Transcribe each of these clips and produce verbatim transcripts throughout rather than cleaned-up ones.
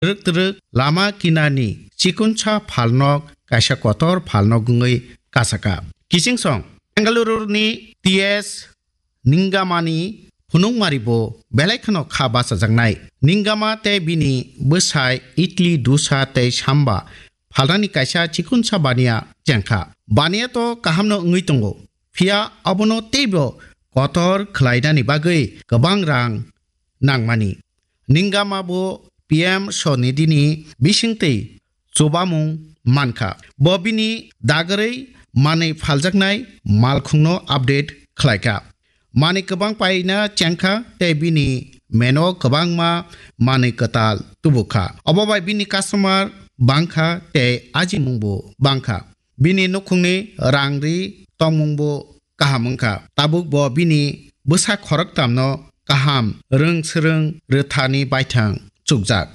twrwk twrwk lama kinarni chikonsa phalnok kaisa kotor phalnok wngwi kasaka. Kichingsong Bengaluru ni T S Ningamani phunukmari bo belai kheno kha bachajaknai. Ningama tei bini bwsai idli, dosa tei samba phalnani kaisa chikonsa baniya chengkha. Baniya to kahamno wngwi tongo, phiya abono teibo kotor khlainani bagwi kwbang rang nangmani. Ningama bo P M Swanidhi ni bisingtwi chubamung mankha. Bo bini dagorwi manwi phaljaknai malkhungno update khlaikha. Manwi kwbang paina chengkha tei bini meno kwbangma manwi kwtal tubukha. Obo bai bini customer bangkha tei ajimungbo bangkha. Bini nukhungni rang ri tongmungbo kaham wngkha. Tabuk bo bini bwsa khoroktamno kaham rwng swrwng rwthani baithang chukjak.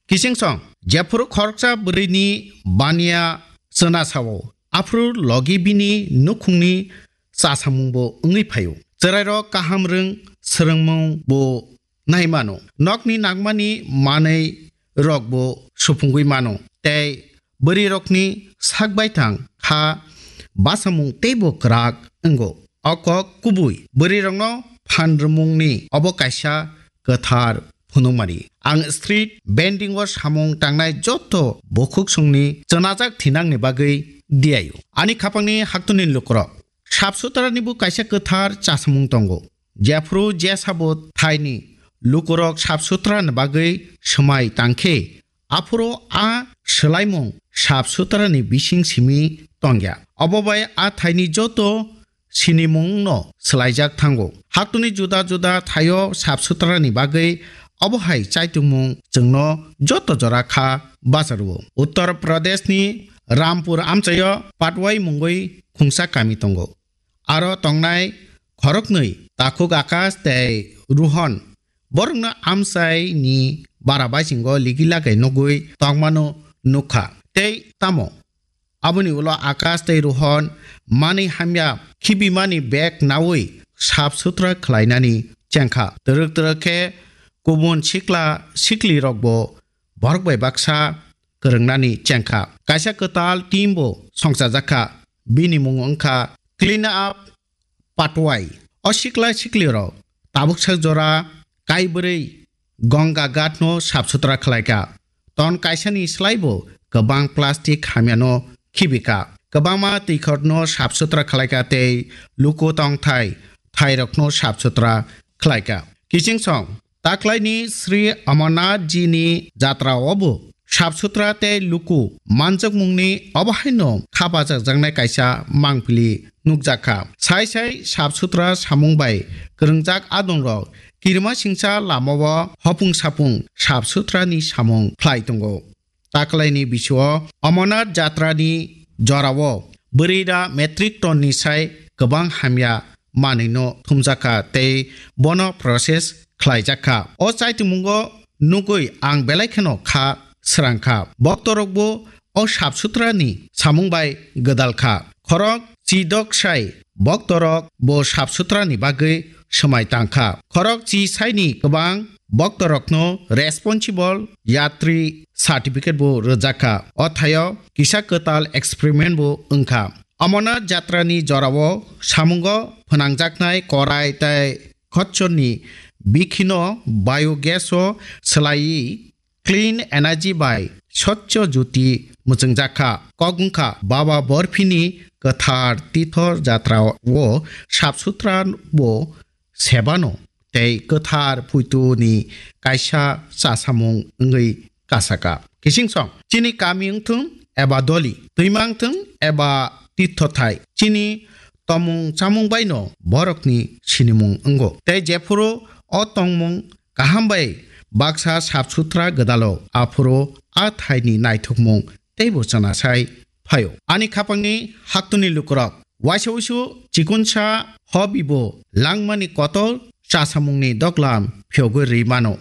Kichingsong jephuru khoroksa bwrwini baniya chwna sao, aphuru logi bini nukhungni chasamungbo wngwi phaio. Chwrairok kaham rwng swrwngmungbo nai mano. Nokni nangmani manwi rokbo supungwi mano. Tei bwrwirokni sak baithang kha basamung teibo kwrak wngo. O kok kubui bwrwirokno phan rwmungni obo kaisa kwthar phunukmani. Ang street vending o samung tangnai joto bukhuksongni chwnajak thinangni bagwi diaio. Ani khapangni haktuni lukurok, sap sutrani bo kaisa kwthar chasamung tongo. Jephuru jesabo thaini lukurok sap sutrani bagwi swmai tangkhe, aphuru a swlaimung sap sutrani bising simi tongya. Obo bai a thaini joto sinimungno swlaijak thango. Haktuni juda juda thaio sap sutrani bagwi obo hai chaitungmung chwngno joto jora kha bacharwo. Uttar Pradeshni Rampur amchaio Patwai mungwi khungsa kami tongo. Aro tongnai khoroknwi takhuk Akash tei Rohan borokno amchaini bara baisingo ligi lagai nugwi tongmano nukha. Tei tamo aboni ulo Akash tei Rohan manwi hamya khibimani bag nawi sap sutra khlainani chengkha. Twrwk twrwk khe kubun sikla siklirokbo borok bai baksa kwrwngnani chengkha. Kaisa kwtal team bo songchajakha. Bini mung wngkha Clean Up Patwai. O sikla siklirok tabuksa jora kaibrwi Ganga Ghat no sap sutra khlaikha. Ton kaisani slaibo kwbang plastic hamyano khibikha. Kwbangma twikhorno sap sutra khlaikha tei luku tongthai thairokno sap sutra khlaikha. Kichingsong Taklaini Sri Amarnath ji ni jatra o bo sap sutra tei luku manjakmungni obo haino kha bajakjaknai kaisa mangpili nukjakha. Sai sai sap sutra samung bai kwrwngjak adongrok kirima singsa lamao hopung sapung sap sutrani samung khlai tongo. Taklaini bisio Amarnath jatrani jorao bwrwi da metric ton ni sai kwbang hamya manwino thumjakha tei bono process khlaijakha. O chaitungmungo nugwi ang belai kheno kha srangkha. Boktorokbo o sap sutrani samung bai gwdalkha. Khorok chidok sai boktorok bo sap sutrani bagwi swmai tangkha. Khorok chi saini kwbang boktorokno responsible yatri certificate bo rwjakha. O thaio kisa kwtal experiment bo wngkha. Amarnath jatrani jorao samungo phnangjaknai korai tei khotchorni bikhino biogas o swlaiwi clean energy bai Swachh Jyoti mwchwngjakha. Kok wngkha Baba Borphini kwthar tithor jatra o sap sutra bo sebano tei kwthar puituni kaisa chasamung wngwi kasaka. Kichingsong chini kami wngthung eba doli, twima wngthung eba tithothai, chini tomung chamung baino borokni sinimung wngo. Tei jephuru o tongmung kaham bai baksa sap sutra gwdalo, aphuru a thaini naithokmung teibo chana sai phaio. Ani khapangni haktuni lukurok, waisa uisu chikonsa hobibo langmani kotor chasamungni doglam phiyogwi rwi mano.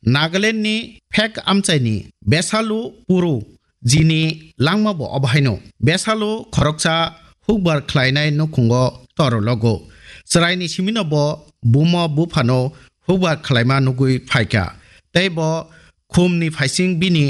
Nagalandni phek amchaini Besalu Puru jini langma bo obo haino. Besalu khoroksa hukbar khlainai nukhungo toro logo. Chwraini simino bo buma buphano hukbar khlaima nugwi phaikha. Tei bo khumni phaising bini